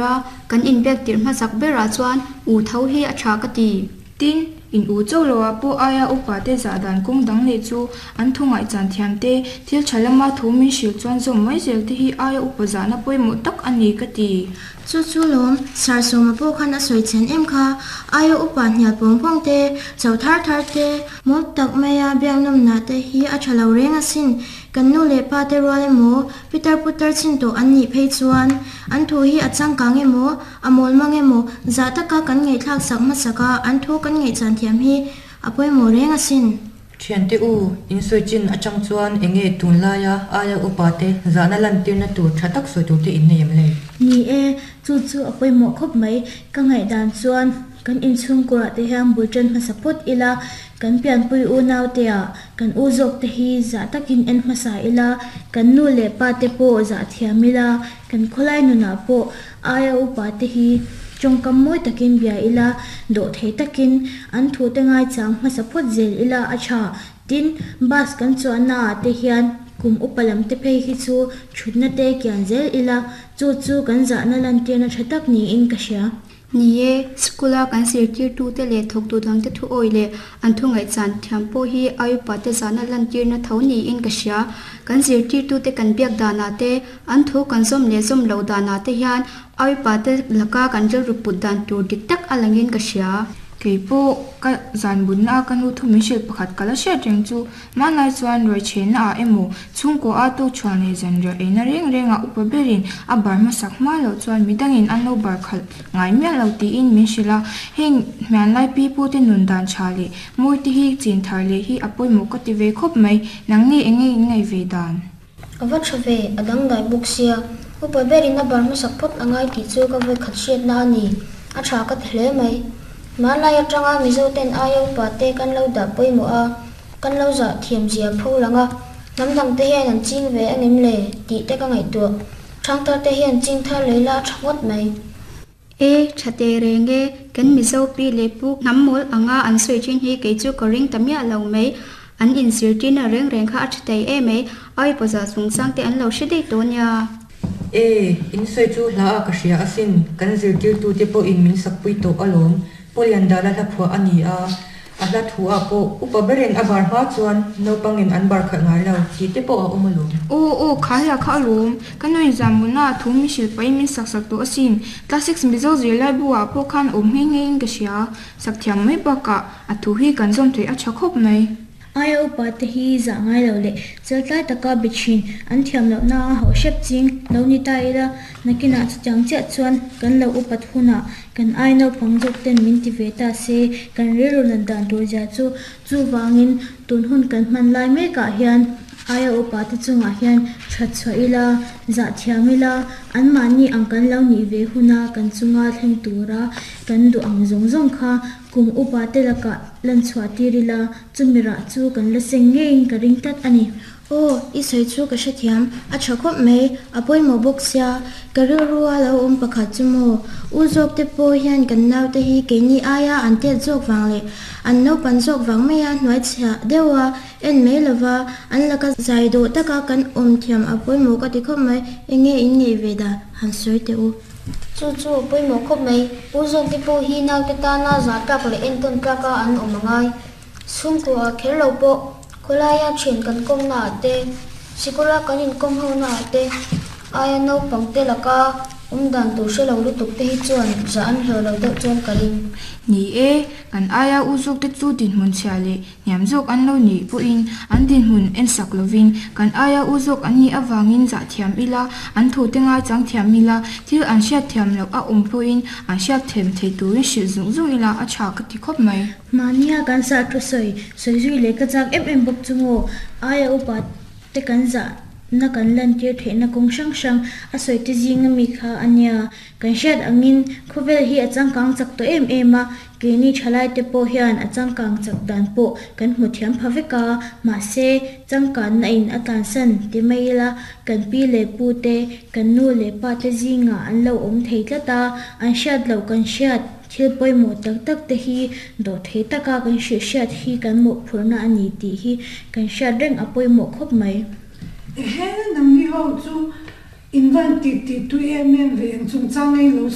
A kan inbiak tirh hmasak berah chuan u tho hi a tha ka ti. Tin, in u cho loah pawh aia upa te zah dan kawng dang leh chu an thu ngaihchan thiam te, thil tha lama thu min hrilh chuan zawm mai zel te hi aia upa zahna pawimawh tak a ni ka ti. Chu chu lawm, Sir Sawma pawh khan a sawi chhen em kha, aia upa hnial pawng pawng te, cho thar thar te, mawl tak maia biaknawmna te hi a tha lo reng asin, kan nu leh pa te rual emaw, Pitar putar chin tawh an nih phei chuan an thu hi a changkang emaw, a mawl mang emaw, zah taka kan ngaihthlak sak hmasak a, an thu kan ngaihchan thiam hi a pawimawh reng asin. Thiante u, in sawi chin atang chuan eng nge tunlaia aia upa te zahna lantirna tur tha tak sawi tur te in nei em le? Ni e, chu chu a pawimawh khawp mai. Ka ngaihdan chuan kan inchhungkurah te hian bul tan hmasa phawt ila, kan pianpui unaute ah Kan u zawk te hi zah takin en hmasa ila, kan nu leh pa te pawh zah thiam ila, kan khawlai nunah pawh aia upa te hi tawngkam mawi takin bia ila, dawh thei takin an thu te ngaichang hmasa phawt zel ila a tha. Tin, bus kan chuanna ah te hian kum upa lam te phei hi chu thutna te kian zel ila, chu chu kan zahna lantirna tha tak niin ka hria. Ni e, school-a kan zirtirtute leh thawktu dangte thu awih leh an thu ngaihchan thiam pawh hi ai upate zahna lantirna tho niin ka hria. Kan zirtirtute kan biak danah te, an thu kan zawm leh zawm loh danah te hian ai upate laka kan rilru put dan tur dik tak a langin ka hria. Kei pawh ka zan bunna a ka nu thu min hrilh pakhat ka la hriat reng chu Hmanlai chuan ruaichhenna ah emaw, chhungkaw a tuk chhuah leh zanriah eina reng reng ah upa berin a bar hmasak hma loh chuan midangin an lo bar khalh ngai miah lo tiin min hrilh a, heng hmianlai pi pu te nun dan tha leh mawi te hi chin thar leh hi a pawimawh ka ti ve khawp mai, nangni enge in ngaih ve dan? A va tha ve, a dangdai bawk sia, upa berin a bar hmasak phawt a ngai tih chu ka vawikhat hriatna a ni, a tha ka ti hle mai. Hmanlai atanga Mizo ten aia upa te kan lo dah pawimawh a, Kan lo zah thiam zia pho lang a, hnam dang te hian an ching ve angem le tih te ka ngaihtuah. Thangthar te hian ching thar lei la tha ngawt mai. E, tha teh reng e, kan Mizo pi leh pu hnam mawl anga an sawi thin hi kei chu ka ring ta miah lo mai. An inzirtirna reng reng kha a tha thei em mai, ai pawza chungchang te an lo hre daih tawh nia. E, in sawi chu hla a ka hria asin, kan zirtirtute pawhin min sakpui tawh alawm, Pawliandala hla phuah a ni a. A hla thu ah pawh upa berin a bar hma chuan naupangin an bar khalh ngai lo tih te pawh a awm alawm. Aw aw kha hla kha alawm. Ka nuin Zamuna a thu min hrilh pahin min sak sak tawh asin. Classics Mizo zirlai bu ah pawh khan awm nghe nghe in ka hria. Sak thiam mai bakah a thu hi kan zawm theih a tha khawp mai. Aia upa te hi zah ngai lo leh cheltlai taka be thin an thiam lohna a hauh hrep ching lo ni ta ila, nakinah chutiang chiah chuan kan lo upat hunah kan ai naupang zawk ten min ti ve ta se kan rilru nat dan tur zia chu chuvangin tun hun kan hman lai mekah hian aia upa te chungah hian that chhuah ila, zah thiam ila, anmahni ang kan lo nih ve huna kan chunga thleng tura kan duh ang zawng zawng kha Kum upa te lakah lan chhuah tir ila, chumi rah chu kan la seng ngeiin ka ring tlat a ni. Aw, i sawi chu ka hrethiam, a tha khawp mai, a pawimawh bawk sia, ka rilrua lo awm pakhat chu maw? U zawk te pawh hian kan naute hi keini aia an tet zawk vang leh an naupan zawk vang maia hnuai chhia deuha en mai lova an laka zai dawh taka kan awm thiam a pawimawh ka ti khawp mai, enge in ngeih ve dah han sawi teh u. Chu chu a pawimawh khawp mai. U zawkte pawh hi naute tana zah tlak leh entawn tlaka an awm a ngai. Chhungkua ah kher lo pawh khawlaia thian kan kawmna ah te, sikula kan inkawm ho na ah te aia naupang te laka awm dan tur hre lo lutuk te hi chuan zah an hlawh lo deuh chuan ka ring. Ni e, kan aia u zawkte chu dinhmun chhia leh Hniam zawk an lo nih pawhin an dinhmun en sak lovin kan aia u zawk an nih avangin zah thiam ila, an thute ngaichang thiam ila, thil an hriat thiam loh a awm pawhin an hriat thiam thei turin hrilh zung zung ila a tha ka ti khawp mai. Mahnia kan sah thu sawi sawi zui leh ka chak em em bawk chu maw? Aia upa te kan zahna kan lantir theihna kawng hrang hrang a sawi te zinga mi kha a nia. Kan hriat angin khawvel hi a changkang chak tawh em em a, Keini thalaite pawh hian a changkang chak dan pawh kan hmu thiam pha vek a, mahse changkanna in a tlansan ti mai ila kan pi leh pu te, kan nu leh pa te zingah an lo awm thei tlat a, an hriat loh kan hriat thil pawimawh tak tak te hi dawh thei taka kan hrilh hriat hi kan mawhphurhna a ni tih hi kan hriat reng a pawimawh khawp mai. Ehe, nangni ho chu. In van ti ti tui em em ve eng chungchang nge in lo